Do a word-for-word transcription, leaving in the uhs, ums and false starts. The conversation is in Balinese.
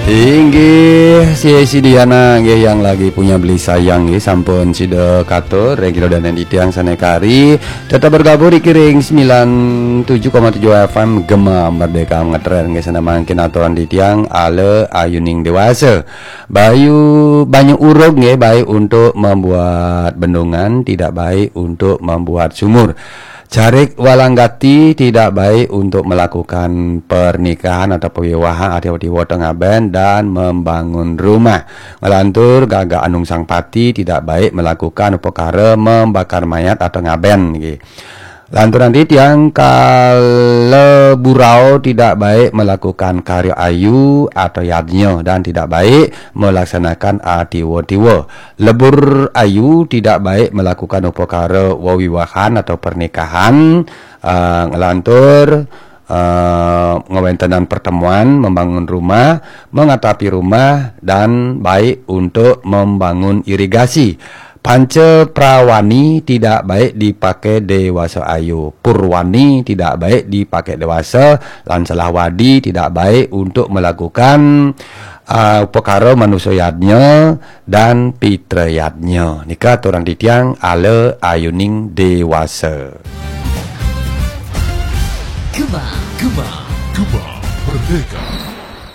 Inggih, si Diana nggih yang lagi punya beli sayang nggih, sampun sida katur ring kidang dane titiang sane kari tetep bergabung ring sembilan tujuh koma tujuh F M Gema Merdeka ngetren nggih, sane mangkin aturan titiang ala ayuning dewasa. Bayu banyu urug nggih baik untuk membuat bendungan, tidak baik untuk membuat sumur. Carik walanggati tidak baik untuk melakukan pernikahan atau perwiwahan, ati-ati wata ngaben dan membangun rumah. Ngelantur gagak anung sang pati tidak baik melakukan perkara membakar mayat atau ngaben nggih. Lantur nanti tiang kala burau tidak baik melakukan karya ayu atau yadnya dan tidak baik melaksanakan atiwa-tiwa. Lebur ayu tidak baik melakukan upakara wewiwahan atau pernikahan, uh, ngelantur uh, ngewentenan pertemuan, membangun rumah, mengatapi rumah, dan baik untuk membangun irigasi. Panca prawani tidak baik dipakai dewasa ayu. Purwani tidak baik dipakai dewasa. Lan selahwadi tidak baik untuk melakukan uh, upakara manusa yadnya dan pitra yadnya. Nika aturan titiang ala ayuning dewasa. Gema, Gema, Gema Merdeka.